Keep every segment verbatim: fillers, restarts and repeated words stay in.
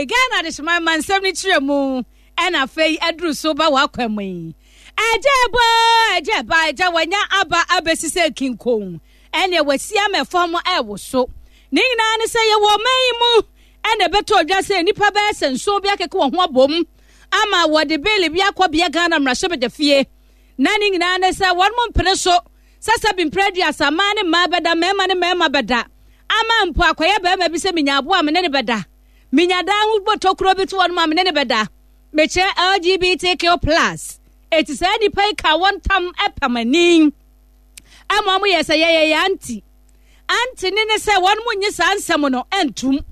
Hey, Ghana adehyeman ma nsɛm no kyerɛ mu ɛna afei aduru so ba w'akwan mu yi. Ɛgya ɛbɔ, ɛgya ɛba, ɛgya wanya aba abɛsi sɛ kinkon. Ɛnea wasi ama fam ɛwoso. Ne nyinaa ne sɛ yɛwɔ ɔman yi mu ɛna ɛbɛtɔ odwa sɛ nnipa bɛyɛ sɛ nson bi akeka wɔn ho abom ama wɔde bill bi akɔ bea Ghana mmarahyɛbadwa fie. Na ne nyinaa ne sɛ wɔn mo mpene so sɛ sɛ bi mpere aduasa mmaa ne mmaa bɛda, mmarima ne mmarima bɛda. Ama mpo akɔyɛ barima bi sɛ menya aboa me ne ne bɛda. Menya dan ho bɔtɔkuro bi to wɔn ma me ne ne bɛda. Mekyerɛ L G B T Q plus. Eti saa nnipa yi ka wɔn tam ɛpam ani. Ama wɔn yɛ sɛ yɛyɛ yɛ anti. Anti ne ne sɛ wɔn mo nye saa nsɛm no ɛntum.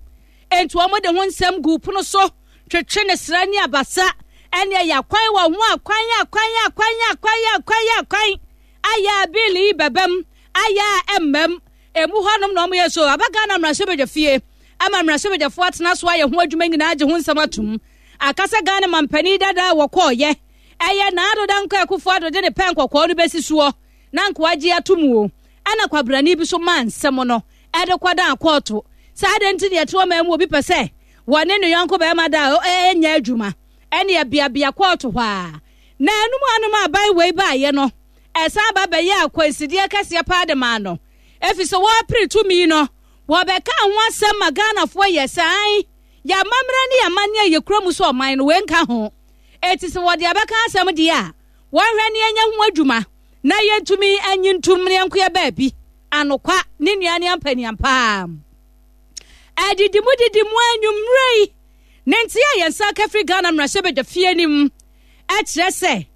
Enti wɔn de ho nsɛm gu pono so twetwe ne sra ne abasa ɛne ɛyɛ akwan wɔ ho akwan akwan akwan akwan akwan akwan ayɛ a bill yi bɛbɛm ayɛ a ɛmmɛm emu hɔnom na wɔn yɛ so aba Ghana mmarahyɛbadwa fie ama mmarahyɛbadwafoɔ atena so ayɛ ho adwuma nyinaa gye ho nsɛm atum akasa. Ghana mampanin dada a wɔkɔɔyɛ ɛyɛ Nana Addo Dankwa Akufo Addo de ne pɛn kɔkɔɔ no bɛsi soɔ na nkoa gye ato mu o, ɛna kwabrani bi so maa nsɛm no ɛde kɔda akɔɔto saa de nti deɛ ɛte ɔman mu obi pɛ sɛ wɔne ne yɔnko bɛrima da a ɛnyɛ adwuma ɛne ɛbeabea kɔɔto hɔ a na anum anom aban wei baayɛ no ɛsan ba bɛyɛ akwansideɛ kɛseɛ paa de maa no efi sɛ wɔrepere tumi no wɔbɛka ho asɛm ma Ghanafoɔ yɛ san yɛamammerɛ ne yɛamanneɛ a yɛkura mu so ɔman no wei nka ho. Eti sɛ wɔde abɛka asɛm deɛ a wɔnhwɛ ne yɛnyɛ ho adwuma na yɛntumi anyi ntom ne yɛnkoyɛ baabi anokwa ne nua ne ampaniampaa ɛdidi mu didi mu anwummerɛ yi ne nti a yɛn nsa ka firi Ghana mmarahyɛbadwa fie nim ɛkyerɛ sɛ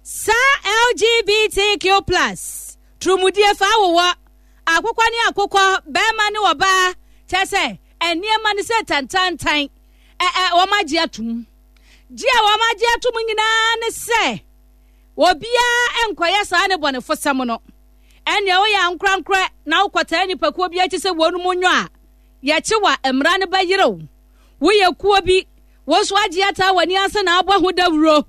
saa L G B T Q plus turumudie fa awowɔ akokɔ ne akokɔ, bɛrima ne ɔbaa, kyerɛ sɛ nneɛma no sɛ tantantan ɛ ɛ wɔn agye atum gye a wɔn agye atum nyinaa ne sɛ obiara nkɔyɛ saa ne bɔnefosɛm no. Ɛnea woyɛ ankorankorɛ na wokɔtaa nipakuo bi akyi sɛ wɔn mu nyɔ a yɛkye wa mmara no bɛyerew woyɛ kuo bi wɔn nso agye ataa w'ani ase na abɔ ho dawuro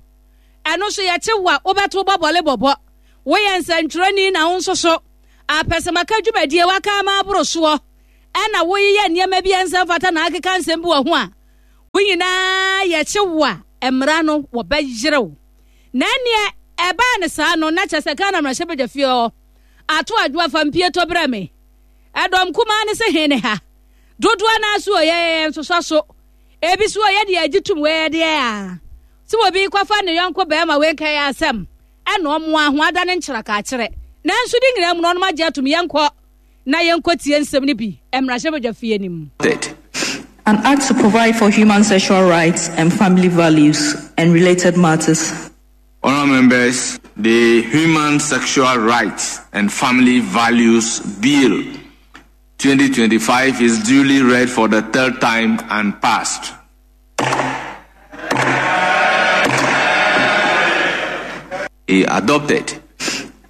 ɛno nso yɛkye wa wobɛto bɔbɔle bɔbɔ woyɛ nsɛntwerɛni na wo nso so apɛsɛmaka dwumadie waka ama aboro soɔ ɛna woyeyɛ nneɛma bi a nsɛm fata na akeka nsɛm bi wɔ ho a wo nyinaa yɛkye wo a mmara no wɔbɛyerew. Na ɛneɛ ɛbaa ne saa no na kyerɛ sɛ Ghana mmarahyɛbadwa fie hɔ ato adwoa fa mpie tɔ brɛ me ɛdɔm kumaa ne sɛ he ne ha dodoɔ no so ɔyɛ nsosɔ so ebi so ɔyɛ deɛ agye tum wɔyɛ deɛ a sɛ obi kɔfa ne yɔnko bɛrima wei nka yɛ asɛm ɛna ɔmo aho ada ne nkyerɛkakyerɛ. Nanso de nyinaa mu no ɔnom agye atom. Yɛnkɔ na yɛnkɔ tie nsɛm no bi mmarahyɛbadwa fie nim. An act to provide for human sexual rights and family values and related matters. Honourable members, the Human Sexual Rights and Family Values Bill twenty twenty-five is duly read for the third time and passed. Adopted.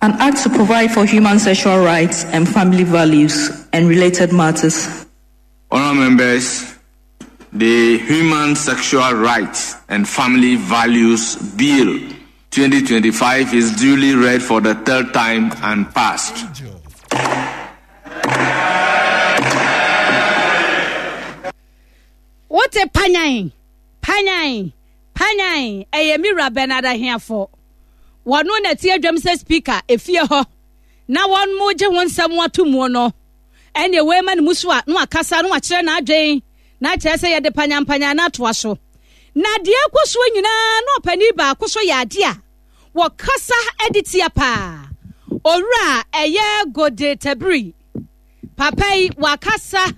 An act to provide for human sexual rights and family values and related matters. Honourable members, the Human Sexual Rights and Family Values Bill twenty twenty-five is duly read for the third time and passed. Wote panyan panyan panyan ɛyɛ mira Bernard Ahiafo wɔno na ti adwam sɛ speaker efie hɔ na wɔn mo gye ho nsɛm ato mu no ɛnna wei ma ne mu so a na wakasa na wakyerɛ n'adwen na kyerɛ sɛ yɛde panyampanyan no atoa so na deɛ ɛkɔ soɔ nyinaa na ɔpanin baako so yɛ adeɛ a wɔkasa de tia paa. Owura ɛyɛ Gode Tabiri papa yi wakasa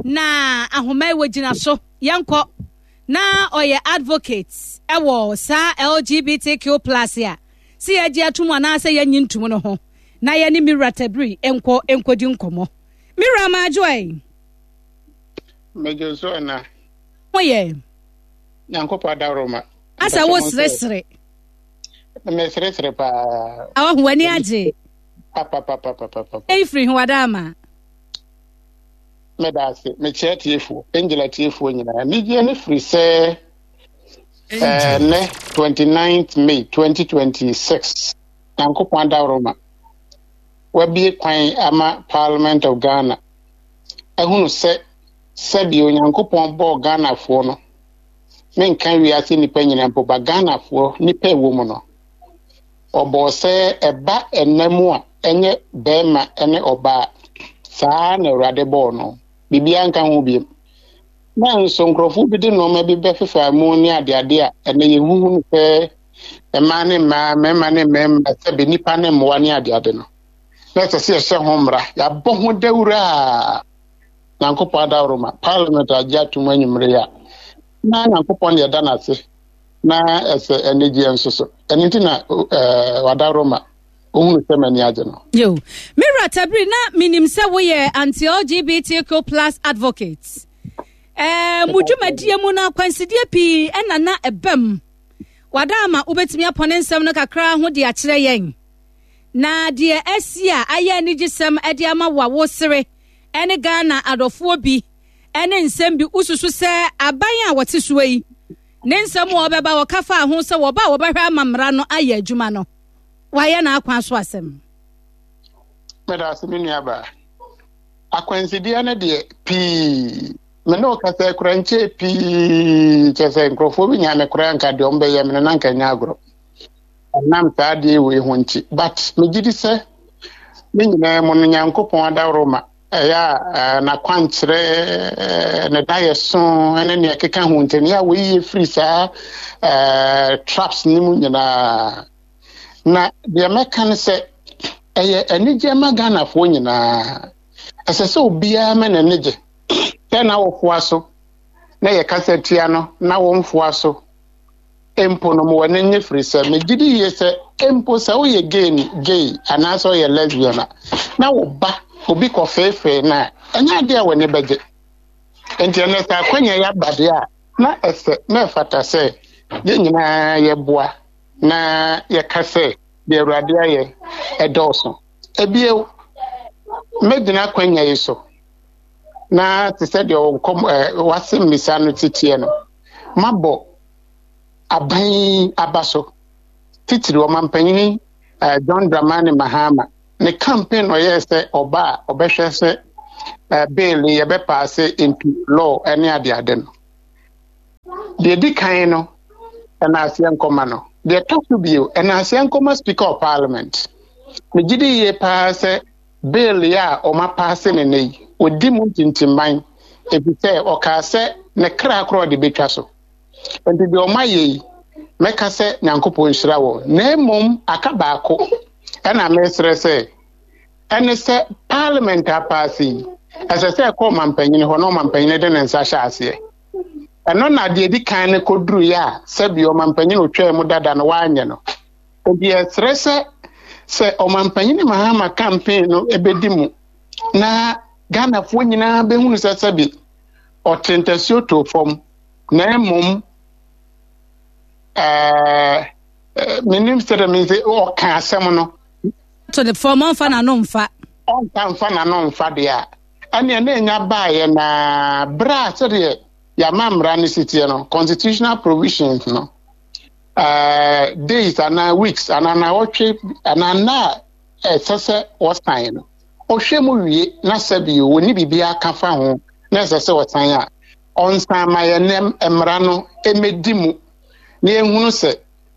na ahoma yi wɔgyina so yɛnkɔ na ɔyɛ advocate ɛwɔ saa L G B T Q plus a sɛ yɛgye atom anaasɛ yɛnyi ntom no ho na yɛne Mira Tabiri nkɔ nkɔdi nkɔmmɔ. Mira Maajoe. Mɛgye so ɛna. Ho yɛ. Nyankopɔn adaworoma. Asa wo seresere. Meseresere paa. Awaho w'ani agye. Papapapapapa. Ɛyi firi ho wada ama. Mɛda ase. Mekyerɛ tiefoɔ, Angel atiefoɔ nyinaa. Anigyeɛ no firi sɛ ɛnɛ twenty-ninth May twenty twenty-six Nyankopɔn adaworoma wabie kwan ama Parliament of Ghana ahunu sɛ sɛdeɛ Onyankopɔn bɔɔ Ghanafoɔ no Menka wiase nnipa nyinaa mpo ba, Ghanafoɔ nnipa ɛwɔ mu no, ɔbɔɔ sɛ ɛba ɛnna mu a ɛnyɛ bɛrima ne ɔbaa. Saa na Awurade bɔɔ no, biribiara nka ho biem. Na nso nkurɔfoɔ bi de nneɛma bi bɛfefa mu ne adeade a ɛnɛ yɛhuhu no sɛ mmaa ne mmaa, mmarima ne mmarima, sɛbe nnipa ne mmoa ne adeade no, na ɛsɛ sɛ yɛhyɛ ho mmara. Yɛabɔ ho dawuro a Nyankopɔn adaworo ma Parliament agye atom anwummere yi a, na Nyankopɔn ne yɛda n'ase na ɛsɛ anigyeɛ nso so. Ɛno nti na ɛɛ wadaworo ma ohunu sɛ m'ani agye no. Yo, mewura Tabiri, na menim sɛ woyɛ anti-L G B T Q plus advocate. eh, mo dwumadie mu no, akwansideɛ pii ɛna na ɛbam. Wada ama wobɛtumi apɔne nsɛm no kakra ho de akyerɛ yɛn, na deɛ asi a ayɛ anigyesɛm de ama wo a wosere ɛne Ghana adɔfoɔ bi ɛne nsɛm bi, wosusu sɛ aban a wɔte soɔ yi ne nsɛm a wɔbɛba wɔka fa ho sɛ wɔba a wɔbɛhwɛ ama mmara no ayɛ adwuma no, wayɛ n'akwan so asɛm? Meda ase, me nuabaa. Akwansideɛ no deɛ pii, me ne wo kasa kora nkyɛɛ pii kyɛ sɛ nkurɔfoɔ bi nya me koraa nka deɛ ɔmbɛyɛ me no na nka nyɛ agorɔ, ɛnam saa adeɛ wei ho nti. But megye di sɛ ne nyinaa mu no, Nyankopɔn adaworo ma ɛyɛ a n'akwankyerɛ ne da yɛ so ne nea ɛkeka ho nti ne a wɔyi firi saa traps ne mu nyinaa. Na deɛ mɛka ne sɛ ɛyɛ anigye ma Ghanafoɔ nyinaa. Ɛsɛ sɛ obiara ma n'ani gye sɛ na wɔfoa so na yɛkasa tia no na wɔmfoa so mpo no, ma wɔne nye, firi sɛ megye di yie sɛ mpo sɛ woyɛ gay gay anaasɛ woyɛ lesbian a, na wo ba obi kɔfeefee no a, ɛnyɛ adeɛ a w'ani bɛgye. Nti ɛnɛ sɛ akwanya yɛ aba deɛ a, na ɛsɛ na ɛfata sɛ yɛn nyinaa yɛboa na yɛka sɛ deɛ Awurade ayɛ ɛdɔɔso. Ebio, mɛgyina akwanya yi so na te sɛ deɛ nkɔm ɛɛ wase mmisa no titiɛ no, mabɔ aban aba so, titiri ɔmampanyini ɛɛ John Dramani Mahama ne campaign. Ɔyɛɛ sɛ ɔba a, ɔbɛhwɛ sɛ ɛɛ bill yɛbɛpass into law ɛne adeade no. Deɛ di kan no, ɛna aseɛ nkɔma no. Deɛ ɛtɔ so bio, ɛna aseɛ nkɔma Speaker of Parliament. Megye di yie paa sɛ bill yi a ɔma pass ne ne yi, ɔdi mu ntintimman, ɛfiri sɛ ɔkaa sɛ ne kra korɔ ɔde bɛtwa so. Nti deɛ ɔma yɛ yi, mɛka sɛ Nyankopɔn nhyira wɔ. Na mmom aka baako ɛna mesrɛ sɛ ɛne sɛ Parliament apass yi, ɛsɛ sɛ ɛkɔ ɔmampanyini hɔ na ɔmampanyini de ne nsa hyɛ aseɛ. Ɛno na deɛ di kan no kɔduruyɛ a sɛbi ɔmampanyini otwaa mu dada no wanyɛ no. Nti yɛsrɛ sɛ sɛ ɔmampanyini Mahama campaign no ɛbɛdi mu na Ghanafoɔ nyinaa bɛhunu sɛ sɛbi ɔte ntasuo too fam, na mmom ɛɛ menim sɛ dɛ mesɛ ɔka asɛm no to ne fam, ɔmfa n'ano mfa. Ɔnka mfa n'ano mfa deɛ a, ɛneɛ na ɛnya baeɛ na berɛ a sɛdeɛ yɛama mmara no siteɛ no, constitutional provisions no, uh, days anaa weeks anaa nawɔtwe anaa nna a ɛsɛ sɛ wɔsan no, ɔhwɛ mu wie na sɛbi wɔni biribiara ka fa ho na ɛsɛ sɛ wɔsan a, ɔnsan ma yɛn mmara no ɛmɛdi mu na yɛhunu sɛ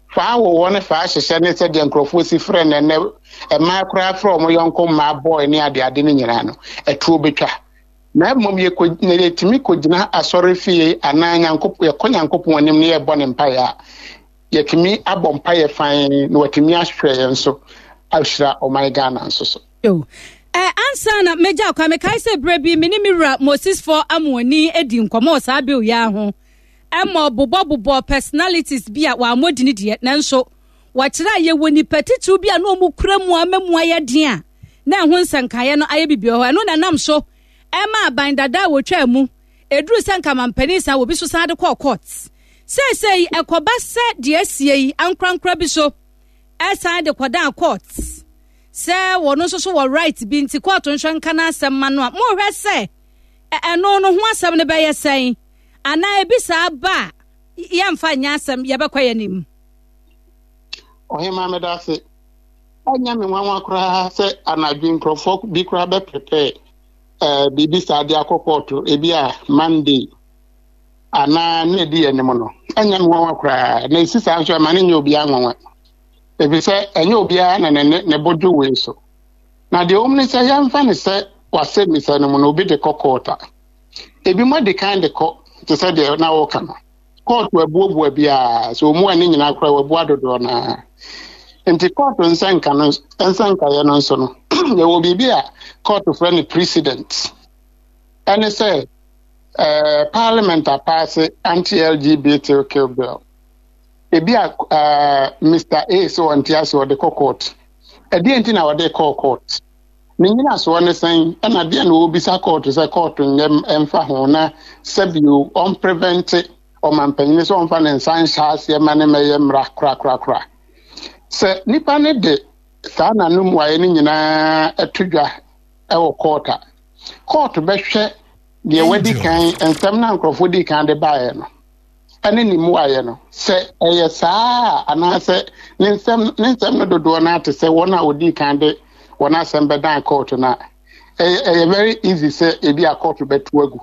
faa wowɔ ne faa hyehyɛ ne sɛdeɛ nkurɔfoɔ si frɛ no ɛnɛ, mmaa koraa frɛ ɔmo yɔnko mmaa bɔɔl ne adeade no nyinaa no, ɛtuo bɛtwa. Na mmom yɛkɔ na yɛtumi kɔgyina asɔre fie anaa Nyankopɔn, yɛkɔ Nyankopɔn anim na yɛbɔ ne mpaeɛ a, yɛtumi abɔ mpaeɛ fan na watumi ahwɛ yɛn so ahyira ɔman Ghana nso so. Yo. Eh, ansa na megya kwa, mekae sɛ berɛ bi me ne me wura Moses Fɔ Amoani adi nkɔmmɔ wɔ saa bill yi ho, ɛma bobɔbobɔ personalities bi a wɔammɔ dini deɛ, nanso wɔkyerɛ a yɛwɔ nipa titiriw bi a na ɔmu kura mu a ama mu ayɛ den a na ɛho nsɛnkaeɛ no ayɛ bibi wɔ hɔ. Ɛno na nam so ɛma aban dada a wɔtwa mu ɛduru sɛ nkamampanin san wɔbi so san de kɔɔ court. Seesei ɛkɔba sɛ deɛ asie yi, ankorankora bi so ɛsan de kɔdan court sɛ wɔn nso so wɔ right bi, nti court nhwɛ nka n'asɛm ma no a, mohwɛ sɛ ɛno no ho asɛm no bɛyɛ sɛn, anaa ebi saa ba a, yɛmfa nyɛ asɛm, yɛbɛkɔ yɛn anim? Ɔhema, meda ase. Ɛnyɛ me nwanwa koraa sɛ anadwo nkurɔfoɔ bi koraa bɛprepare ɛɛ biribi saa de akɔ kɔɔto, ebi a Monday anaa ne edi anim no. Ɛnyɛ me nwanwa koraa na esi saa nso, ɛma ne nyɛ obiara nwanwa, efisɛ ɛnyɛ obiara na ne ne ne bo dwo wei so. Na deɛ wɔm ne sɛ, yɛmfa ne sɛ wasɛmmisa no mu na obi de kɔ court a, ebi mo de kan de kɔ te sɛ deɛ na wɔka no, court abuobua biara sɛ ɔmu a ne nyinaa koraa wabua dodoɔ naa. Nti court nsɛnka no, nsɛnkaeɛ no nso no, yɛwɔ biribi a court frɛ no precedent. Ɛne sɛ ɛɛ parliament apass anti-L G B T Q bill, ebi a ɛɛ Mister A sɛ ɔnte ase, ɔde kɔ court. Ɛdeɛ nti na ɔde kɔɔ court? Ne nyinasoɔ ne sɛn? Ɛna deɛ na ɔrebisa court sɛ court nyɛ mfa ho na sɛbio ɔmprevent ɔmampanyini sɛ ɔmfa ne nsa nhyɛ aseɛ ma ne mɛyɛ mmara korakorakora? Sɛ nipa ne de saa n'anom waeɛ no nyinaa ɛto dwa ɛwɔ court a, court bɛhwɛ deɛ wadi kan, nsɛm na nkurɔfoɔ di kan de baeɛ no ɛne ne mmuaeɛ no, sɛ ɛyɛ saa a, anaasɛ ne nsɛm ne nsɛm no dodoɔ no ate sɛ wɔn a wɔdi kan de wɔn asɛm bɛdan court no a, ɛyɛ ɛyɛ very easy sɛ ebi a court bɛto agu.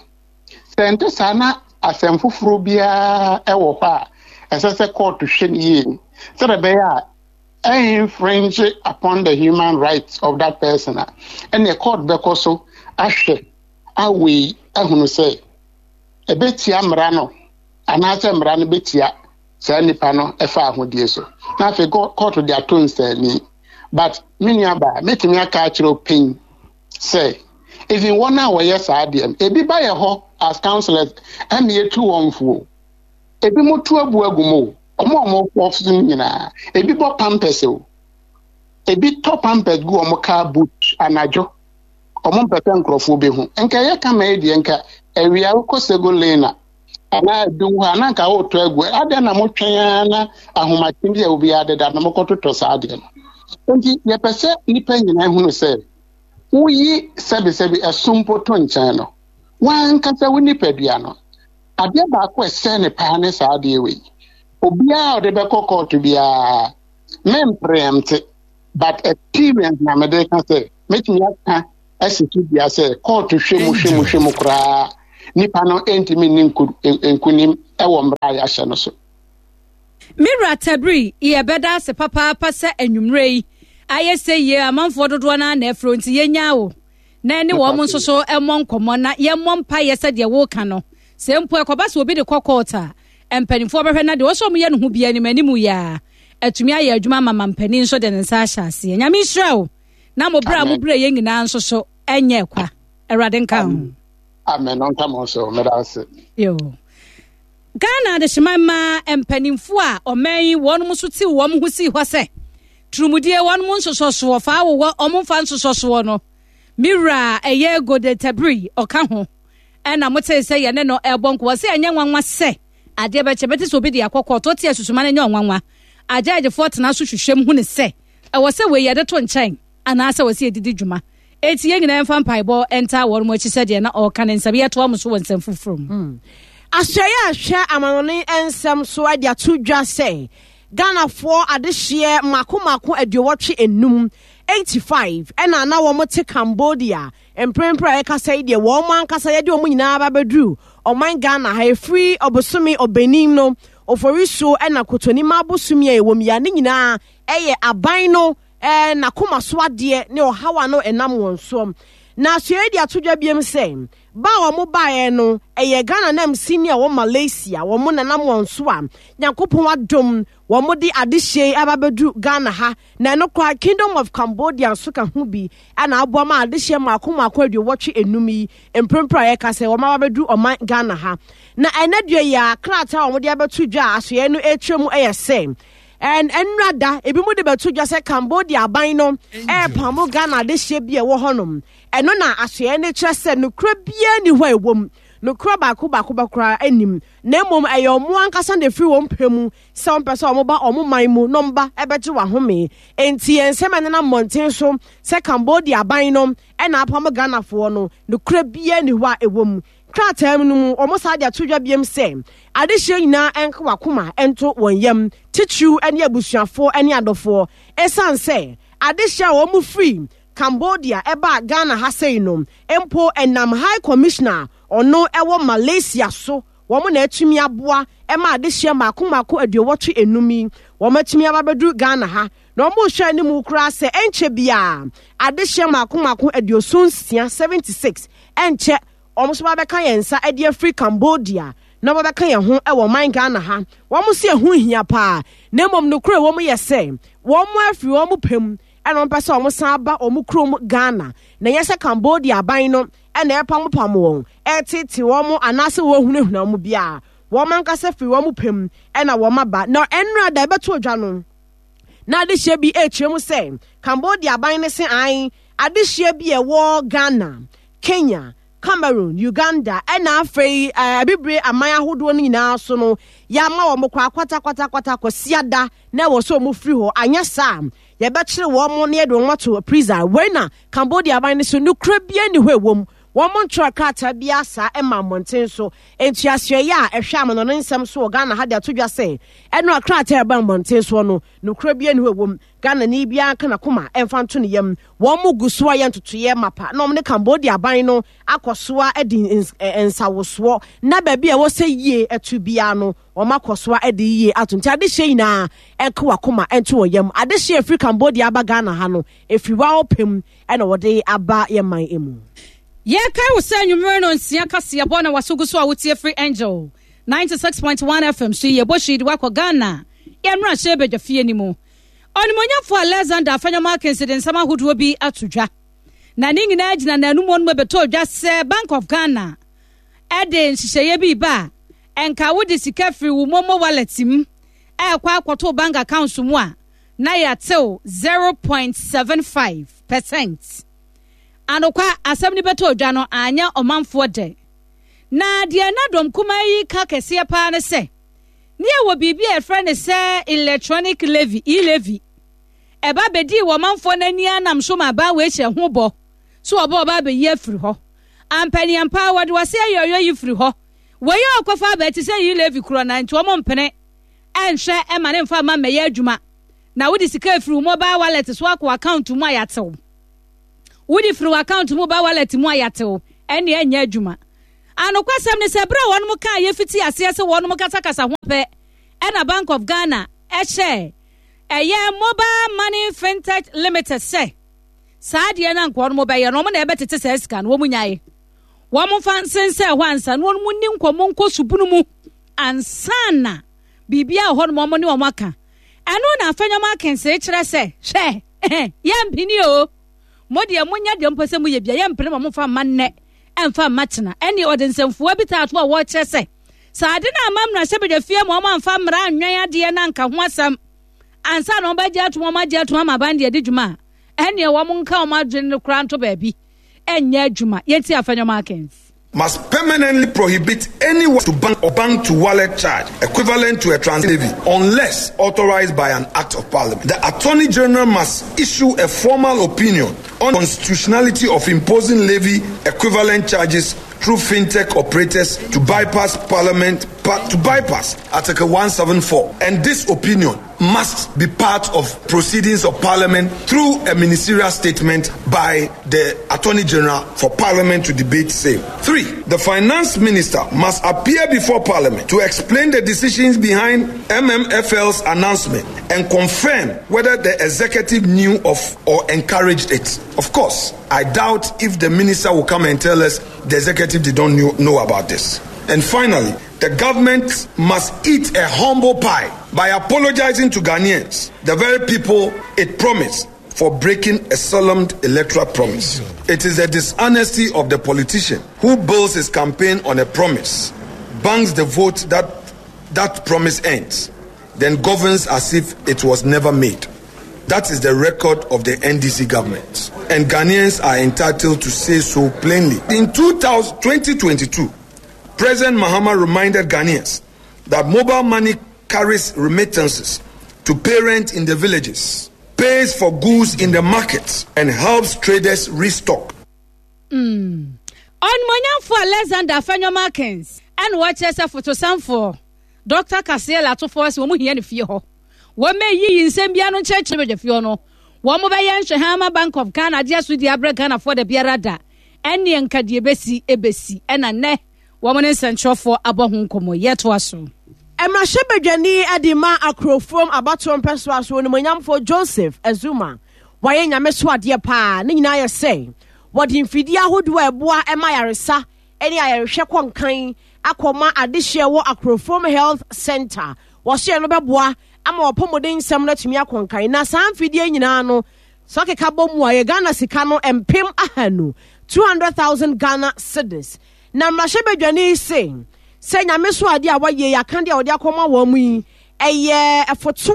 Sɛ nte saa na asɛm foforɔ biara ɛwɔ hɔ a ɛsɛ sɛ court hwɛ no yie sɛdeɛ ɛbɛyɛ a ɛinfringe upon the human rights of that person a, ɛnna court bɛkɔ so ahwɛ awei ahunu sɛ ɛbɛtia mmara no anaasɛ mmara no bɛtia saa nipa no ɛfa ahodie so, na afei court de ato nsani. But me nua baa, mɛtumi aka akyerɛ panyin sɛ even wɔn a wɔyɛ saa adeɛ no, ebi ba yɛ hɔ as counsellors, ɛna yɛtu wɔn fuo. Ebi mo tu abu agu mu o, ɔmo a ɔmo wɔ so nyinaa, ebi bɔ pampers o, ebi tɔ pampers gu ɔmo car boot anadwo, ɔmo mpɛ sɛ nkurɔfoɔ bɛhu. Nka ɛyɛ kama yi deɛ, nka awia wokɔ Sego Lane a anaa adum hɔ a, na nka wotɔ agu. Adeɛ na motwɛn ara na ahomakye bi a obiara deda na mokɔtotɔ saa adeɛ no. Nti yɛpɛ sɛ nnipa nyinaa hunu sɛ woyi sɛbesɛbe ɛso mpo to nkyɛn no, wankasa wo nipadua no, adeɛ baako a ɛsɛ ne paa ne saa adeɛ wei. Obiara a ɔde bɛkɔ kɔɔto biara, mempreempt, but experience na mede ka sɛ mɛtumi aka asi so dua sɛ kɔɔto hwɛ mu, hwɛ mu, hwɛ mu koraa, nipa no ntumi nni nkunim wɔ mmara a yɛahyɛ no so. Mewura Tabiri, yɛbɛda ase papaapa sɛ anwummerɛ yi ayɛ sɛ yie. Amanfoɔ dodoɔ no ana afuro nti yɛnya wo na ɛne wɔn nso so mmɔ nkɔmmɔ na yɛmmɔ mpayɛ sɛdeɛ woka no, sɛ mpo ɛkɔba sɛ obi de kɔ court a, mpanimfoɔ bɛhwɛ na deɛ wɔsɛ ɔmo yɛ no ho bia anim anim yɛ a, atumi ayɛ adwuma ama ma mpanin nso de ne nsa ahyɛ aseɛ. Nyame nhyira wo na mo berɛ a mo berɛ yɛn nyinaa nso so ɛnyɛ kwa. Awurade nka ho. Amen. Ɔnka mo so. Meda ase. Yo, Ghana adehyema mmaa mpanimfoɔ a ɔman yi wɔn nso te wɔn ho si hɔ sɛ turumudie wɔn nsosɔsoɔ fa awowɔ wɔn mfa nsosɔsoɔ no, me wura ɛyɛ Gode Tabiri ɔka ho, ɛna mote sɛ yɛne no ɛbɔ nkɔwɔ sɛ ɛnyɛ nwanwa sɛ adeɛ bɛkyɛ bɛte sɛ obi de akɔkɔ to te asusuma no nyɛ ɔnwanwa. Agyaagyefoɔ tena so hwehwɛ mu hu ne sɛ ɛwɔ sɛ wei yɛde to nkyɛn anaasɛ wɔ sɛ yɛdidi dwuma. Eti yɛn nyinaa mfa mpaebɔ ntaa wɔn mu akyi sɛdeɛ na ɔreka ne nsɛm. Yɛtoa mo so wɔ nsɛm foforɔ mu. Asɔeɛ a hwɛ amanɔne nsɛm so de ato dwa sɛ Ghanafoɔ adehyeɛ mako mako aduowɔtwe enum, eighty-five, ɛna na wɔn te Cambodia. Mprempren a yɛkasa yi deɛ, wɔn ankasa yɛde wɔn nyinaa aba abɛduru ɔman Ghana ha. Efiri ɔbosome Ɔbɛnim no, Oforisuo ɛna Kotonima abosom a ɛwɔ mu ya ne nyinaa ɛyɛ aban no ɛɛ n'akoma so adeɛ ne ɔhaw a no ɛnam wɔn soɔ. Na asɔeɛ de ato dwa biem sɛ ba a wɔn baeɛ no ɛyɛ Ghana nam sini a wɔ Malaysia, wɔn nanam wɔn so a Nyankopɔn adom wɔn de adehyɛ aba bɛduru Ghana ha. Na ɛno koraa, Kingdom of Cambodia nso ka ho bi ɛna aboa ma adehyɛ mako mako aduowɔtwe enum yi, mprempren a yɛka sɛ wɔn aba bɛduru ɔman Ghana ha. Na ɛnɛ dua yi a krataa a wɔde abɛto dwa a asoɛ no ɛretwa mu ɛyɛ sɛ ɛn nnura da ebi mu de bɛto dwa sɛ Cambodia aban no ɛrepamo Ghana adehyɛ bi a ɛwɔ hɔnom. Ɛno na asoɛ no kyerɛ sɛ nokora biara ni hɔ a ɛwɔ mu, nokora baako baako bɛkora anim, na mmom ɛyɛ ɔmo ankasa na efiri wɔn pɛ mu sɛ wɔn pɛ sɛ wɔn ba wɔn man mu na wɔn ba ɛbɛgye wɔn ahome. Nti yɛn nsɛm a ɛnenam mmɔnten so sɛ Cambodia aban no ɛna apam Ghanafoɔ no, nokora biara ni hɔ a ɛwɔ mu. Krataa mu no mu, wɔn saa de ato dwa biem sɛ adehyɛ nyinaa ɛnka wakoma ɛnto wɔn yam, titiriw ne abusuafoɔ ne adɔfoɔ, ɛsiane sɛ adehyɛ a wɔn firi Cambodia ɛbaa Ghana ha sei no mpo, ɛnam High Commissioner ɔno ɛwɔ Malaysia so. Wɔn na atumi aboa ma adehyeɛ mmaako mmaako aduowɔtwe enum yi wɔn atumi aba abɛduru Ghana ha. Na wɔn rehwɛ anim koraa sɛ ɛnkyɛ biara adehyeɛ mmaako mmaako aduoson nsia, seventy six, ɛnkyɛ wɔn nso bɛka yɛn nsa de afiri Cambodia na wɔbɛka yɛn ho wɔ ɔman Ghana ha. Wɔn si ɛho hia paa, na mmom nokorɛ wɔn yɛ sɛ wɔn afiri wɔn pɛ mu ɛna wɔn pɛ sɛ wɔn san ba wɔn kurom Ghana, na ɛnyɛ sɛ Cambodia aban no ɛna ɛpamopam wɔn, ɛtete wɔn anaasɛ wɔhunahuna wɔn biara. Wɔn ankasa firi wɔn pɛ mu ɛna wɔn aba. Na ɛnora da ɛbɛto odwa no, na adehyeɛ bi ɛrekyerɛ mu sɛ Cambodia aban no se an adehyeɛ bi ɛwɔ Ghana, Kenya, Cameroon, Uganda ɛna afei abibire aman ahodoɔ no nyinaa so no yɛama wɔn kɔ akwata kwata kwata kɔsiada na ɛwɔ sɛ wɔn firi hɔ, anyɛ saa yɛbɛkyere wɔn na yɛde wɔn ato prison. Wei na Cambodia aban no so nokura bia ni hɔ ɛwɔ mu. Wɔn ntwerɛ krataa biara saa ɛma mmɔnten so. Ntuasoɛyɛ a ɛhwɛ amanɔne nsɛm so wɔ Ghana ha de ato dwa sɛ ɛno a krataa ɛba mmɔnten soɔ no nokura bia ni hɔ ɛwɔ mu. Ghana ni biara nka n'akoma ɛmfa nto ne yam. Wɔn mo gu so a yɛ ntotoeɛ mapa na wɔn ne Cambodia aban no akɔ so a de nsawosoɔ na baabi a ɛwɔ sɛ yie ɛto biara no wɔn akɔ so a de yie ato. Nti adehyeɛ nyinaa ɛnka wakoma ɛnto wɔn yam. Adehyeɛ efiri Cambodia aba Ghana ha no efiri wa ɔpem ɛna wɔde aba yɛ man emu. Yɛkae wo sɛ anwummere no nsia kaseɛbɔ na waso gu so a wotie firi Angel ninety-six point one F M so yi, yɛbɔ hyii de wakɔ Ghana. Yɛmmra hyɛ badwa fie ni mu. Ɔnimonyafo Alexander Afenyo Markins de nsɛm ahodoɔ bi ato dwa. Na ne nyinaa gyina n'anum hɔ no mu bɛtɔ dwa sɛ Bank of Ghana ɛde nhyehyɛeɛ bi ba a ɛnka wode sika firi wo momo wallet mu ɛkɔ akɔto bank account mu a na yɛatew zero point seven five percent. Anokwa asɛm ni bɛtɔ dwa no anya ɔmanfoɔ dɛ. Na deɛ na dɔm kumaa yi ka kɛseɛ paa ne sɛ ne yɛwɔ biribi a yɛfrɛ ne sɛ electronic levy, e-levy. Ɛba bɛdii wɔ ɔmanfoɔ n'ani anam so ma aban wei hyɛ ho bɔ so ɔbɔ ɔba abɛyi afiri hɔ. Ampaniampa wɔde wɔse ayɔyɔ yi firi hɔ. Wɔyɛ ɔkɔfa aba ti sɛ e-levy korɔ na nti wɔn mpene ɛnhwɛ ɛma ne mfa mma mmɛyɛ adwuma. Na wode sika afiri wo mobile wallet so akɔ account mu a yɛatew. Wode firi wo account mu ba wallet mu a yɛatew, ɛne ɛnyɛ adwuma. Anokwasɛm ne sɛ berɛ a wɔnom kaa yɛfiti aseɛ sɛ wɔnom kasakasa ho pɛ ɛna Bank of Ghana ɛhyɛ ɛyɛ Mobile Money Fintech Limited sɛ saa adeɛ no anka wɔnom bɛyɛ no wɔn na ɛbɛtete saa sika no wɔn nyae. Wɔn mfa nsensɛn hɔ ansa na wɔnom ni nkɔmmɔ nkɔ subunu mu ansa na biribiara wɔ hɔ nom wɔn ne wɔn aka. Ɛno na Afenyo Markins kyerɛ sɛ hwɛ yɛmpini o. Mo deɛ monyɛ deɛ mpɛ sɛ moyɛ bia yɛmpene ma momfa mma nnɛ ɛmfa mma kyena. Ɛne ɔde nsɛmfua bi taa to a wɔkyerɛ sɛ saa ade no ama mmarahyɛ badwa fie ma wɔn amfa mmara anwɛn adeɛ na anka ho asɛm ansa na wɔbɛgye atom wɔn agye atom ama aban deɛ di dwuma a ɛneɛ wɔn nka wɔn adwene no koraa nto baabi ɛnyɛ adwuma. Yɛnti Afenyo Markins. Must permanently prohibit any to bank or bank to wallet charge equivalent to a transaction levy unless authorized by an act of parliament. The Attorney General must issue a formal opinion on the constitutionality of imposing levy equivalent charges through fintech operators to bypass parliament, to bypass Article one seven four, and this opinion must be part of proceedings of Parliament through a ministerial statement by the Attorney General for Parliament to debate same. Three, the Finance Minister must appear before Parliament to explain the decisions behind M M F L's announcement and confirm whether the executive knew of or encouraged it. Of course, I doubt if the minister will come and tell us the executive did not knew, know about this. And finally, the government must eat a humble pie by apologizing to Ghanaians, the very people it promised, for breaking a solemn electoral promise. It is the dishonesty of the politician who builds his campaign on a promise, banks the vote that that promise ends, then governs as if it was never made. That is the record of the N D C government, and Ghanaians are entitled to say so plainly. In two thousand twenty twenty-two, President Mahama reminded Ghanaians that mobile money carries remittances to parents in the villages, pays for goods in the markets, and helps traders restock. Mm. Ɔnumonyamfo Alexander Afenyo Markins ɛna wɔkyerɛ sɛ fotosanfoɔ Doctor Cassiel Atofoɔ sɛ wɔn hia ne fie hɔ. Wɔn mɛyiyi nsɛm biara no nkyerɛkyerɛ badwa fie hɔ no. Wɔn bɛyɛ nhwɛhan Bank of Ghana adeɛ so di abrɛ Ghanafoɔ da biara da. Ɛne nka deɛ ebesi ebesi ɛna nnɛ Wɔn ne nsɛntwerɛfoɔ abɔ ho nkɔmmɔ. Yɛtoa so. Mmarahyɛbadwani de ma Akrofuom abatoɔ mpɛsoa so, Onimuonyamfoɔ Joseph Azuma, wayɛ Nyame so adeɛ paa. Ne nyinaa yɛ sɛ wɔde mfidie ahodoɔ a ɛboa ma ayaresa ne ayarehwɛ kɔ nkan akɔma adehyeɛ wɔ Akrofuom Health Center. Wɔhyɛ no bɛboa ama wɔpɔmuden nsɛm no atumi akɔ nkan. Na saa mfidie nyinaa no, sɛ ɔkeka bɔ mu a, yɛ Ghana sika no mpem ahanu, two hundred thousand Ghana cedis. Na mmarahyɛbadwani se sɛ Nyame so adeɛ a wayɛ yi, aka deɛ a wɔde akɔma wɔn mu yi, ɛyɛ ɛfoto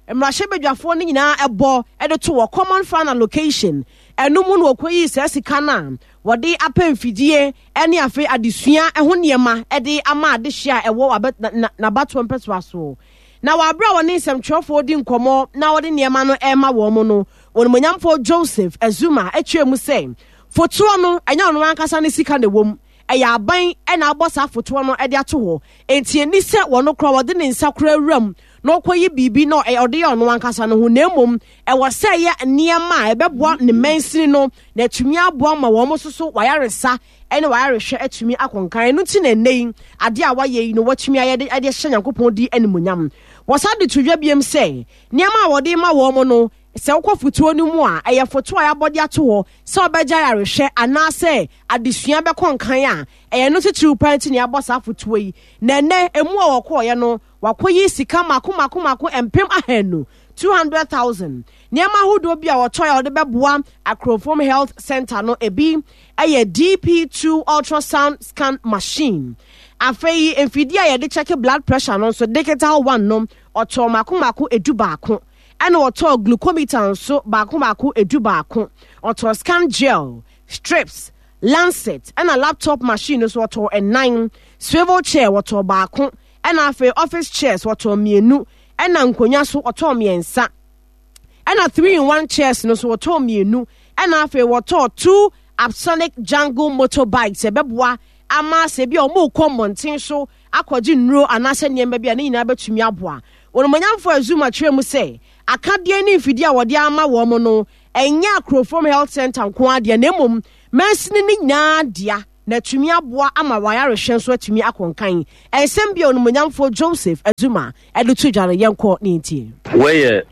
a mmarahyɛbadwafoɔ no nyinaa ɛbɔ ɛde to wɔ common fund allocation. Ɛno mu na wɔkɔyii saa sika no a wɔde apɛ mfidie ne afei adesua ho nneɛma de ama adehyeɛ a ɛwɔ n'abatoɔ mpɛsoa so. Na wɔaberɛ a wɔne nsɛmtwerɛfoɔ di nkɔmmɔ na wɔde nneɛma no ɛrema wɔn mu no, wɔnumonyamfoɔ Joseph Azuma akyerɛ mu sɛ fotoɔ no, ɛnyɛ ɔno ankasa ne sika na ɛwɔ mu, ɛyɛ aban ɛna abɔ saa fotoɔ no de ato hɔ, enti ɛni sɛ wɔn kora wɔde ne nsa kora awuram na ɔkɔyi biribi na ɔde yɛ ɔno ankasa no ho, na mmom ɛwɔ sɛ ɛyɛ nneɛma a ɛbɛboa ne mansini no na atumi aboa ma wɔn nso so wayaresa ɛne wayarehwɛ atumi akɔnkan. Ɛno nti na ɛnɛ yi adeɛ a wayɛ yi no, watumi ayɛ de de hyɛ Nyankopɔn di animonyam. Wɔsa de to dwa biem sɛ nneɛma a wɔde ma wɔn no, sɛ wokɔ fotoɔ no mu a, ɛyɛ fotoɔ a yɛabɔ de ato hɔ sɛ ɔbɛgya yarehwɛ anaasɛ adesua bɛkɔ nkan a, ɛyɛ no titiriw paa nti na yɛabɔ saa fotoɔ yi. Na ɛnɛ emu a wɔkɔɔyɛ no, wakɔyi sika mako mako mako mpem ahanu, two hundred thousand. Nneɛma ahodoɔ bi a wɔtɔ a wɔde bɛboa Akrofuom Health Center no, ebi ɛyɛ D P two ultrasound scan machine. Afei mfidie a yɛde check blood pressure no nso, digital one no, ɔtɔ mako mako edu baako, ɛna ɔtɔ glucometer nso baako baako edu baako. Ɔtɔ scan gel strips, lancet, ɛna laptop machine nso ɔtɔ ɛnan. Swivel chair wɔtɔ baako, ɛna afei office chairs wɔtɔ mmienu, ɛna nkonnwa so ɔtɔ mmiɛnsa, ɛna three in one chairs no so wɔtɔ mmienu, ɛna afei wɔtɔ two Apsonic Jungle motorbikes. Ɛbɛboa ama sɛ bi a wɔn rekɔ mmɔnten so akɔgye nnuro anaasɛ nneɛma bi a, ne nyinaa bɛtumi aboa wɔn. Monyamfo Azuma kyerɛ mu sɛ akadeɛ ne mfidie a wɔde ama wɔn no, ɛnyɛ Akrofuom Health Center nko adeɛ, na mmom mansini ne nyinaa dea, na atumi aboa ama wayarehwɛ nso atumi akɔnkan. Ɛnsɛm bi a onimonyamfoɔ Joseph Azuma ɛde to dwa no, yɛnkɔ ne ntie. Wɔyɛ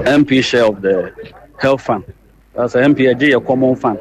M P share of the health fund. That's M P yɛgye yɛ common fund,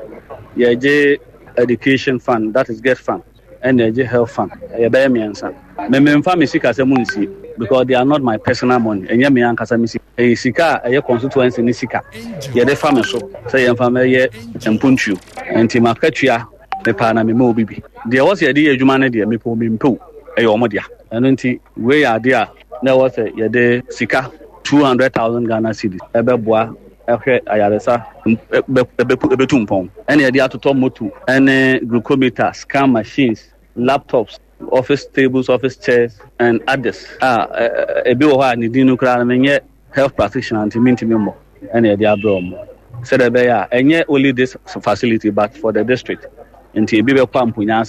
yɛgye education fund, that is GETFund, ɛna yɛgye health fund. Yɛbɛyɛ mmiɛnsa. Mmemmfa me sika sɛ mu nsie because they are not my personal money. Ɛnyɛ me ankasa me sika, ɛyɛ sika a ɛyɛ constituency ne sika yɛde fa me so sɛ yɛmfa mɛyɛ mpuntuo. Nti makatua mepaa na mema obi bi deɛ ɛwɔ sɛ yɛde yɛ adwuma no deɛ, mepɛ omi mpew, ɛyɛ ɔmo dea. Ɛno nti wei yɛ adeɛ a na ɛwɔ sɛ yɛde sika two hundred thousand Ghana cedis ɛbɛboa ɛhwɛ ayaresa ɛbɛtu mpɔn, ɛna yɛde atotɔ moto ɛne glucometer, scan machines, laptops, office tables, office chairs and others a ebi wɔ hɔ a ne din no koraa no, menyɛ health practitioner nti mintimi mmɔ. Ɛna yɛde abrɛ ɔmo sɛdeɛ ɛbɛyɛ a ɛnyɛ only this facility but for the district. Nti ebi bɛkɔ Ampunya,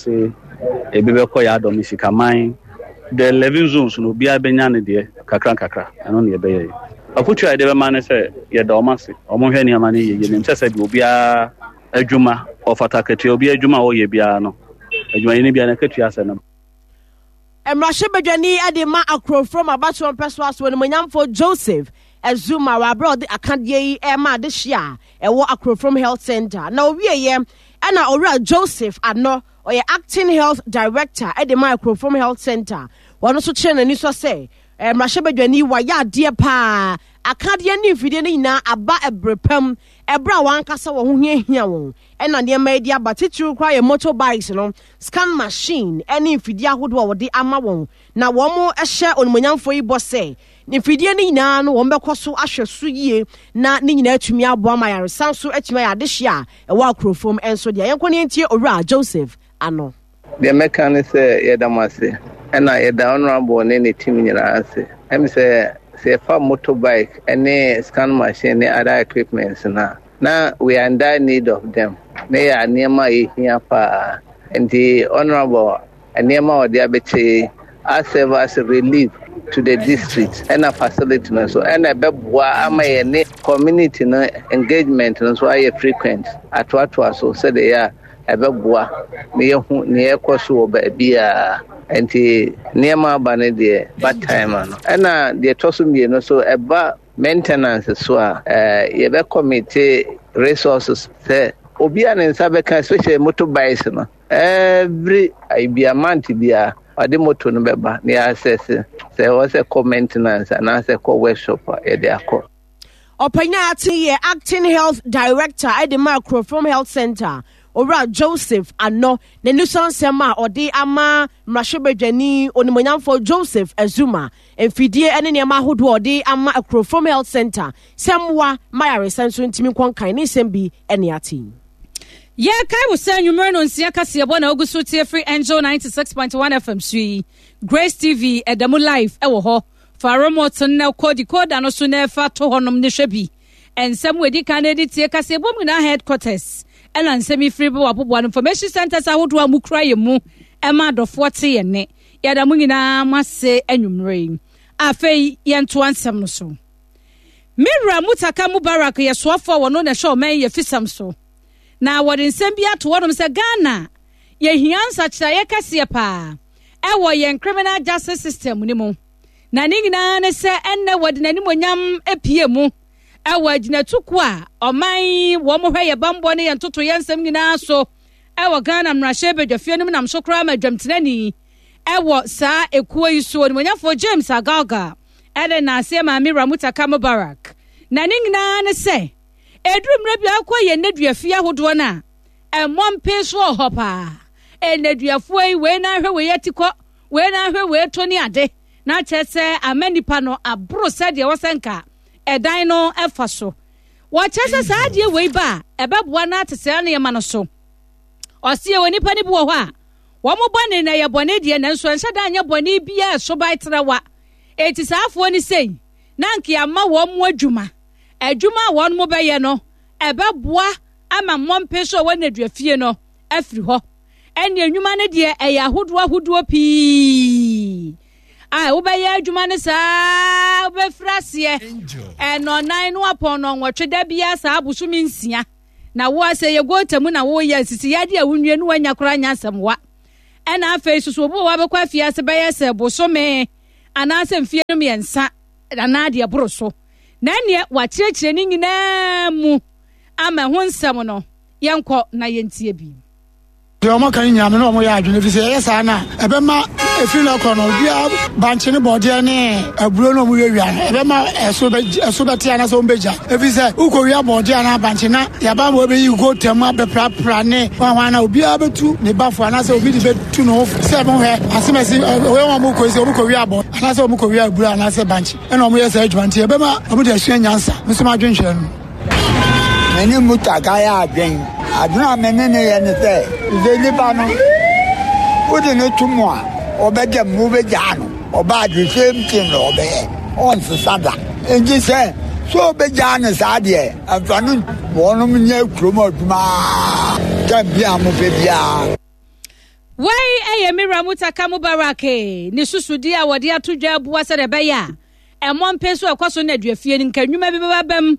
ebi bɛkɔ Yadom, Sikaman, the eleven zones no, obiara bɛnya ne deɛ kakra kakra. Ɛno ne yɛbɛyɛ yi. Afotu a yɛde bɛma ne sɛ yɛda ɔmo ase, ɔmo hwɛ nneɛma no yie. Yɛnim sɛ sɛdeɛ obiara adwuma ɔfata akatua, obiara adwuma a ɔyɛ biara no, adwumayɛni biara no akatua sɛ no. Mmarahyɛbadwani de ma Akrofuom abatoɔ mpɛsoa so, onimonyamfoɔ Joseph Azuma, wɔ aberɛ a ɔde akadeɛ yi ɛma adehye a ɛwɔ Akrofuom Health Center. Na owieɛ ɛna Owura Joseph Ano, ɔyɛ acting health director ɛde ma Akrofuom Health Center, wɔn nso kyerɛ n'ani sɔ sɛ mmarahyɛbadwani wayɛ adeɛ paa. Akadeɛ ne mfidie no nyinaa aba ɛberɛ pam, ɛberɛ a wɔankasa wɔn ho hiahia wɔn, ɛna nneɛma yi de aba. Titiriw koraa yɛ motorbikes no, scan machine ɛne mfidie ahodoɔ a wɔde ama wɔn. Na wɔn hyɛ onimonyamfoɔ yi bɔ sɛ mfidie no nyinaa no, wɔn bɛkɔ so ahwɛ so yie na ne nyinaa atumi aboa ma ayaresa nso atumi ayɛ adehye a ɛwɔ Akurofom nso deɛ. Yɛnkɔ ne yɛntie Owura Joseph Ano. Deɛ mɛka ne sɛ yɛda mo ase, ɛna yɛda Honorable ne ne team nyinaa ase. Ɛm sɛ sɛ yɛfa motorbike ne scan machine ne other equipments na na we are in dire need of them, ne yɛ nneɛma a yɛhia paa. Nti Honorable nneɛma a ɔde abɛkyɛ yi serve as relief to the district ɛna facility no nso, ɛna ɛbɛboa ama yɛ ne community no engagement no nso ayɛ frequent atoatoa so sɛdeɛ yɛ a Ɛbɛboa na yɛhu nea ɛkɔ so wɔ baabiara. Nti nneɛma aba no deɛ ba time no. Ɛna deɛ ɛtɔ so mmienu so ɛba maintenance so a, ɛɛ yɛbɛ commit resources sɛ obi a ne nsa bɛka, especially motorbikes no, every bia month bia ɔde moto no bɛba na yɛasɛse sɛ ɛwɔ sɛ kɔ maintenance anaasɛ kɔ workshop a, yɛde akɔ. Ɔpanyin ate yɛ Acting Health Director ɛde ma Kurofrom Health Center, Owura Joseph Ano, n'ani so nsɛm a ɔde ama mmarahyɛbadwani onimonyamfo Joseph Azuma, mfidie ne nneɛma ahodoɔ a ɔde ama Kurofrom Health Center sɛ mmoa ma yaresa nso ntumi nkɔ nkan ne nsɛm bi ne ate yi. Yɛkae wo sɛ nnwumere no nsia kaseɛbɔ na ogu so tie firi Angel ninety-six point one F M so yi. Grace T V ɛda mu live ɛwɔ hɔ. Fa remote no kɔ decoder no so na ɛfa to hɔnom ne hwɛ bi. Nsɛm wɔ edi kan na edi tie kaseɛbɔ mu nyinaa headquarters ɛna nsɛm yi firi bɛ wɔ aboboa no information centers ahodoɔ a mukura yɛ mu ɛma adɔfoɔ te yɛn ne. Yɛda mo nyinaa mo ase anwummerɛ yi. Afei yɛntoa nsɛm no so. Mewura Mutaka Mubarak yɛ soafoɔ a wɔno na ɛhwɛ ɔman yɛ fisam so. Na wɔde nsɛm bi ato hɔnom sɛ Ghana yɛhia nsakyerɛeɛ kɛseɛ paa ɛwɔ yɛn criminal justice system no mu. Na ne nyinaa ne sɛ ɛnnɛ wɔde n'animonyam apue mu ɛwɔ agyinatukuo a ɔman wɔn hwɛ yɛ bambɔ ne yɛn ntoto yɛn nsɛm nyinaa so ɛwɔ Ghana mmarahyɛ badwafie no mu, nam so koraa ma adwamtenani ɛwɔ saa ekuo yi so, onimonyamfoɔ James Agalga, ɛde n'aseɛ maame Ramutaka Mubarak. Na ne nyinaa ne sɛ ɛduru mmerɛ bi akɔ yɛn nneduafie ahodoɔ no a ɛmmɔ mpee so wɔ hɔ paa. Nneduafoɔ yi, wei na ahwɛ wei atikɔ, wei na ahwɛ wei to ne ade, na kyerɛ sɛ ama nipa no aboro sɛdeɛ wɔsɛ nka ɛdan no ɛfa so. Wɔkyerɛ sɛ saa adeɛ wei ba a, ɛbɛboa no ate saa nneɛma no so. Ɔseɛ wɔ nipa no bi wɔ hɔ a wɔn bɔne na ɛyɛ bɔne deɛ, nanso ɛnhyɛ da nyɛ bɔne biara ɛso ban trawa. Eti saa afoɔ no sei na nka ama wɔn mo adwuma adwuma a wɔn mo bɛyɛ no ɛbɛboa ama mmɔmpe so a wɔn nneduafie no afiri hɔ. Ɛne nnwuma no deɛ ɛyɛ ahodoɔ ahodoɔ pii a wobɛyɛ adwuma no saa, wobɛfiri aseɛ ɛnɔnan no apɔn no nwɔtwe da biara saa bosome nsia. Na wo asɛ yɛ gota mu na woyɛ sisi yadeɛ a wonwie no wanya koraa nya asɛm wa. Ɛna afei soso obi wɔ hɔ abɛkɔ afiase bɛyɛ sɛ bosome anaasɛ mfie no mmiɛnsa anaa deɛ boro so. Na ɛneɛ wakyerɛkyerɛ ne nyinaa mu ama ɛho nsɛm no yɛnkɔ na yɛntie bi. Deɛ ɔmo ka no nyinaa me ne ɔmo yɛ adwene, fi sɛ ɛyɛ saa no a ɛbɛma ɛfiri no akɔ no obiara bankye ne bɔɔdeɛ ne aburo no ɔmo wiawia no, ɛbɛma ɛso bɛ ɛso bɛte anaasɛ ɔmo bɛgya, ɛfiri sɛ wokɔwia bɔɔdeɛ anaa bankye na yɛaba ma wɔbɛyi gotam abɛprapra ne hwanhwan na obiara bɛtu ne bafo anaasɛ obi de bɛtu ne ho sɛ mohwɛ asɛmɛsi ɔyɛ wɔn mo kɔ sɛ ɔmo kɔwia abɔ anaasɛ ɔmo kɔwia aburo anaasɛ bankye ɛna ɔmo yɛ saa adwuma, nti ɛbɛma ɔmo de asua nyansa. Nso ma adwenhwɛ no. Mene Mutaka yɛ adwen. Adwene a mene ne yɛ ne sɛ sɛ nipa no wode ne to mu a, ɔbɛda mu, wobɛgyaa no ɔbaa the same thing na ɔbɛyɛ, ɔnsesa da. Nti sɛ sɛ ɔbɛgyaa no saa deɛ, ɛmfa no wɔnom nyɛ kurom adwuma tam bi a mopɛ biara. Wei ɛyɛ Mira Mutaka Mubarak ne susudi a wɔde ato dwa abua sɛdeɛ ɛbɛyɛ a ɛmmɔ mpe so ɛkɔ so na aduafie no nka nnwuma bi bɛba bɛm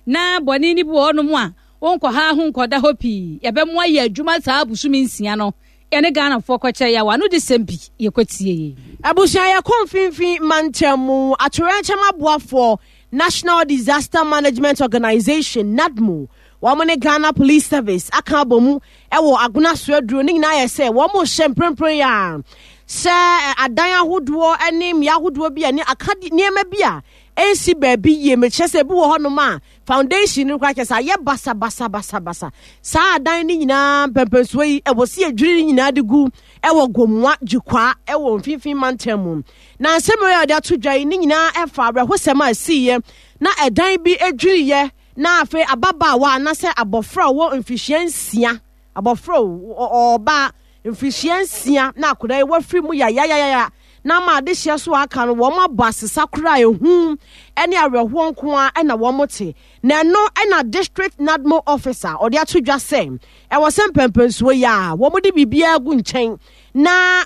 na bɔne no bi wɔ hɔnom a wonkɔha ho nkɔda hɔ pii, yɛbɛmoa yɛ adwuma saa bosome nsia no. Yɛne Ghanafoɔ kɔkyɛ yɛ ano de sɛm bi yɛkɔtie. Abusua, yɛkɔ Mfimfini Mantam mu. Atoyerɛnkyɛm aboafoɔ National Disaster Management Organization, NADMO, wɔn ne Ghana Police Service aka abɔ mu wɔ Agona so aduro ne nyinaa yɛ sɛ wɔn hyɛ mprempren yi a sɛ adan ahodoɔ ne mmea ahodoɔ bi a ne aka nneɛma bi a ɛnsi baabi yie. Mekyerɛ sɛ ebi wɔ hɔnom a foundation no koraa kyerɛ sɛ ayɛ basabasabasabasa. Saa adan no nyinaa mpɛmpɛnsoɔ yi ɛwɔ si adwiri no nyinaa de gu ɛwɔ Gomua Gyikwaa ɛwɔ Mfimfini Mantam mu. Na nsɛm yi a wɔde ato dwa yi ne nyinaa ɛfa awerɛhosɛm a ɛsiiɛ na ɛdan bi adwiriiɛ na afei ababaawa anaasɛ abɔfra a ɔwɔ mfihyia nsia, abɔfra ɔbaa mfihyia nsia, na akwadaa yi wafiri mu yayayaya na ama adehyeɛ so aka no wɔn abɔ asesa koraa. Ehu ne awerɛhoɔ nko ara ɛna wɔn te. Na ɛno ɛna District NADMO officer ɔde ato dwa sɛ ɛwɔ sɛ mpɛmpɛnsuo yi a wɔn de biribiara gu nkyɛn na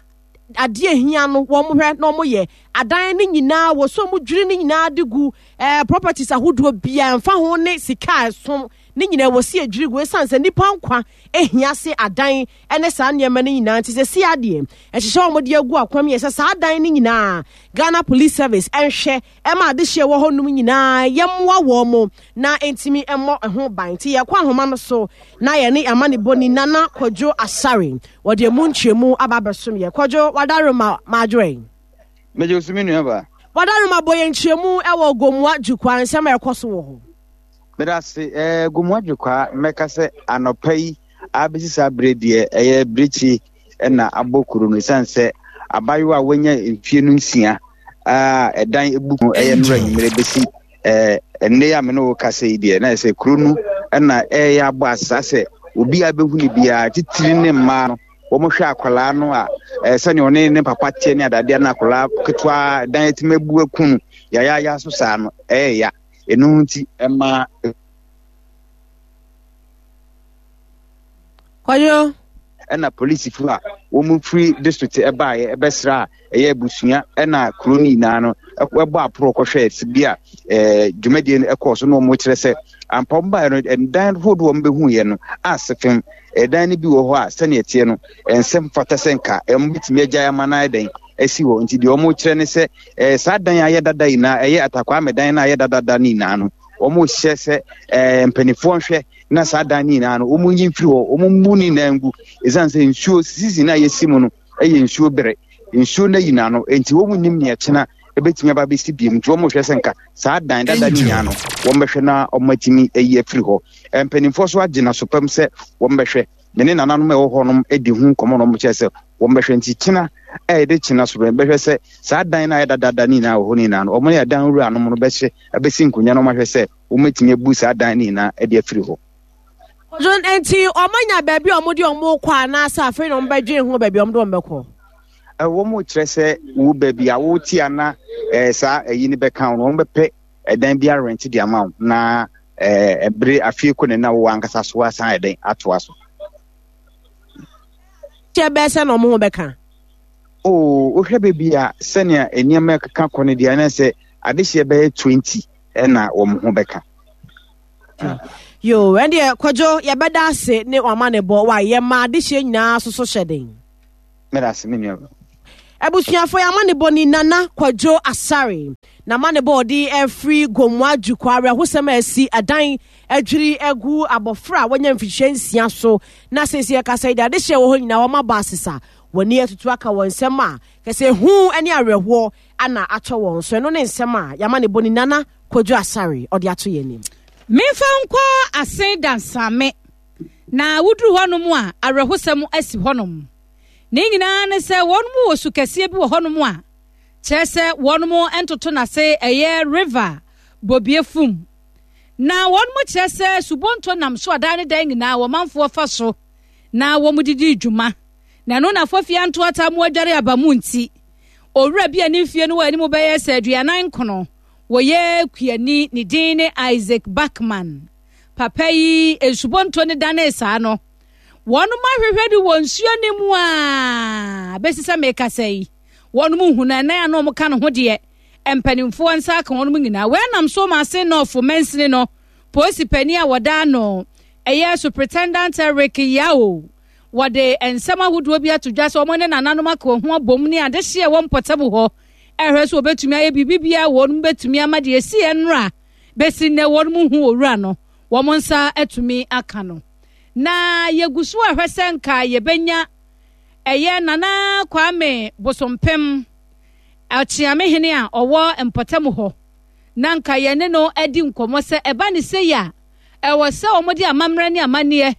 adeɛ hia no wɔn hwɛ na wɔn yɛ adan no nyinaa wɔ so wɔn dwiri no nyinaa de gu ɛɛ properties ahodoɔ biara mfa ho ne sika a ɛsom Ne nyinaa wɔ si adwiri gu ɛsiane sɛ nnipa nkwa ehia se adan ne saa nneɛma no nyinaa nti sɛ si adeɛ ɛhyehyɛ wɔn de agu akwam yɛ sɛ saa adan no nyinaa Ghana Police Service ɛnhwɛ ɛma adehyeɛ wɔ hɔnom nyinaa yɛmmoa wɔn mo na ntumi mmɔ ho ban. Nti yɛkɔ ahoma no so na yɛne amanebɔni Nana Kwadwo Asare wɔde emu nkyerɛmu aba abɛsom yɛ. Kwadwo, wadaroma maadwoɛ. Megye so, me nua ba. Wadaroma, bɔ yɛn nkyerɛmu ɛwɔ Gomua Jukwa, nsɛm a ɛkɔ so wɔ hɔ. Meda ase. ɛɛ Gomua Jukwa, mɛka sɛ anɔpa yi abɛsi saa berɛ deɛ, ɛyɛ birikyi ɛna abɔ kuro no, ɛsiane sɛ abayewa a wanya mfie no nsia a ɛdan ebu ɛyɛ nnora nwummerɛ bɛsi ɛɛ ɛnne a me ne wo kasa yi deɛ, na yɛ sɛ kuro no ɛna ɛyɛ abɔ asa sɛ obiara bɛhu ne biara, titiri ne mmaa no. Wɔn hwɛ akwadaa no a, ɛɛ sɛnea ɔne ne papa teɛ ne adadeɛ no, akwadaa ketewa dan etimi abu aku no yayaaya so saa no, ɛyɛ ya. Ɛno nti ɛma Kwadwo. Ɛna polisifo a wɔn firi district ɛbaeɛ ɛbɛsra a ɛyɛ abusua ɛna kuro no nyinaa no ɛbɔ aporo kɔhwɛ bi a ɛɛ dwumadie no ɛkɔɔ so, na wɔn kyerɛ sɛ ampa wɔn baeɛ no, ɛdan hodoɔ wɔn bɛhu yɛ no ase fam. Ɛdan no bi wɔ hɔ a, sɛnea ɛteɛ no, ɛnsɛm fata sɛ nka ɛmo bitumi agyae ama no ayɛ dɛn asi hɔ. Nti deɛ wɔn kyerɛ ne sɛ ɛɛ saa dan a ayɛ dada nyinaa, ɛyɛ Atakwame dan no a ayɛ dadada no nyinaa no, wɔn hyɛ sɛ ɛɛ mpanimfoɔ nhwɛ na saa dan no nyinaa no, wɔn nyi mfiri hɔ, wɔn mmu ne nyinaa ngu, ɛsiane sɛ nsuo sisi no a yɛsi mu no ɛyɛ nsuo bere, nsuo no ayi n'ano, nti wɔn nim nea ɛkyena ɛbɛtumi aba bɛsi biem. Nti wɔn hwɛ sɛ nka saa dan dada no nyinaa no, wɔn bɛhwɛ na wɔn atumi ayi afiri hɔ. Mpanimfoɔ so agye n'aso pam sɛ wɔn bɛhwɛ. Me ne nananom a ɛwɔ hɔ nom di ho nkɔmmɔ na wɔn kyerɛ sɛ wɔn bɛhwɛ. Nti kyena a yɛde kyena so bɛhwɛ sɛ saa dan no a ayɛ dada no nyinaa wɔ hɔ no nyinaa no, wɔn ne ɛdan wura nom no bɛhyɛ abɛsi nkonnwa na wɔn ahwɛ sɛ wɔn atumi abu saa dan no nyinaa de afiri hɔ. John, nti ɔmo anya baabi a ɔmo de ɔmo kɔ anaasɛ afei na ɔmo bɛdwen ho baabi a ɔmo de ɔmo bɛkɔ? Wɔn kyerɛ sɛ wo baabi a wote ana ɛɛ saa ɛyi no bɛka wo no, wɔn bɛpɛ ɛdan bi arɛnti de ama wo na ɛɛ ɛbere afie kɔ ne na wo ankasa so asan ɛdɛn atoa so. Kyɛ bɛɛ sɛ na ɔmo ho bɛka. Oo, wohwɛ baabi a sɛnea nneɛma keka kɔ no deɛ, ɛna sɛ adehyeɛ bɛyɛ twenty ɛna wɔn ho bɛka. Yo, ɛndeɛ Kwadwo, yɛbɛda ase ne wama ne bɔ wa yɛma adehyeɛ nyinaa soso hyɛ den. Meda ase, me nua. Abusuafo, yɛama ne bɔ ni Nana Kwadwo Asare na ma ne bɔ ɔde afiri Gomua Dwukɔ, awerɛhosɛm a asi, ɛdan adwiri agu abɔfra a wɔanya mfihyia nsia so, na seesei ɛkasa yi de adehyeɛ wɔ hɔ nyinaa wɔn abɔ asesa wɔn ani atutu aka wɔn nsɛm a kɛsɛ ehu ne awerɛhoɔ ana atɔ wɔn so. Ɛno ne nsɛm a yɛama ne bɔ ni Nana Kwadwo Asare ɔde ato yɛn anim. Memfa nkɔ Ase Dansame na woduru hɔnom a, awerɛhosɛm asi hɔnom. Ne nyinaa ne sɛ wɔn mu wɔ su kɛseɛ bi wɔ hɔnom a kyerɛ sɛ wɔn ntoto n'ase, ɛyɛ River Bobie Fum, na wɔn mu kyerɛ sɛ subonto nam so adan ne dan nyinaa wɔn manfoɔ fa so na wɔn didi dwuma, na ɛno na fɔfia ntoata mu adware aba mu. Nti owura bi a ne mfie no wɔ anim bɛyɛ sɛ aduanan nkono, wɔyɛ kuani, ne din ne Isaac Backman. Papa yi, nsubonto ne dane saa no, wɔn ahwehwɛ de wɔ nsuo ne mu a bɛsi sɛ mekasa yi, wɔn mu hu no ɛnan a na wɔn ka ne ho deɛ, mpanimfoɔ nsa aka wɔn nyinaa. Wɔnam so ma Ase Nɔɔfo mansini no polisi panin a wɔda ano ɛyɛ Superintendent Eric Yao, wɔde nsɛm ahodoɔ bi ato dwa sɛ wɔn ne nananom aka wɔn ho abom ne adehyeɛ wɔ mpɔtam hɔ ɛhwɛ sɛ wɔbɛtumi ayɛ biribi biara wɔn bɛtumi ama deɛ esi nnora bɛsi nnɛ wɔn mu hu owura no, wɔn nsa atumi aka no. Na yɛgu so ahwɛ sɛ nka yɛbɛnya ɛyɛ Nana Kwame Bosompem, Ɔkyeamehene a ɔwɔ mpɔtam hɔ, na nka yɛne no adi nkɔmmɔ sɛ ɛba ne sɛ yi a, ɛwɔ sɛ wɔde amammerɛ ne amanneɛ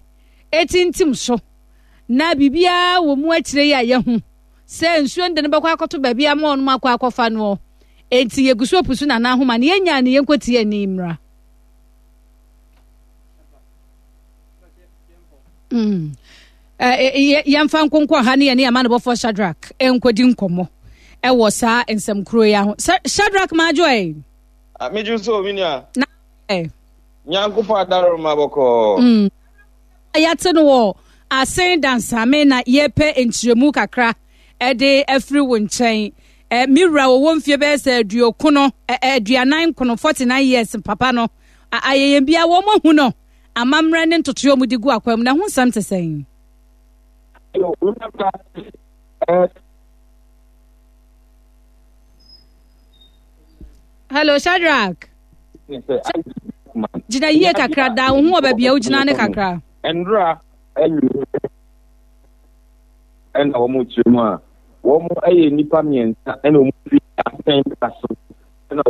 ɛtintim so na biribiara wɔ mu akyire yi a yɛho sɛ nsuo no de no bɛkɔ akɔto baabi ama wɔn akɔ akɔfa noɔ. Enti yɛgu so apusu Nana ahoma ne yɛnya ne yɛnkɔtie ani mmra. Mm. Yɛmfa nkonkɔ ha ne yɛne amanebɔfoɔ Shadrack nkɔdi nkɔmmɔ ɛwɔ saa nsɛm kuro yi ho. Shadrack, maadwo ɛ. Medwo so, me nua. Na Nyankopɔn adaroma bɔkɔɔ. Mm. Yɛate no wɔ Asen Dansame na yɛpɛ nkyerɛmu kakra ɛde afiri wo nkyɛn. Ɛ me wura wɔwɔ mfie bɛyɛ sɛ aduokono aduanan nkono, forty nine years, papa no ayɛyɛ bia wɔn ahu no. Amammerɛ ne ntotoeɛ a wɔde gu akwan mu na ɛho nsɛm te sɛn? Hello, Shadrach. Gyina yie kakra da wo ho wɔ baabi a wogyina ne kakra. Nwura ɛna wɔn kyerɛ mu a wɔn yɛ nnipa mmiɛnsa ɛna wɔn fi asɛn da so.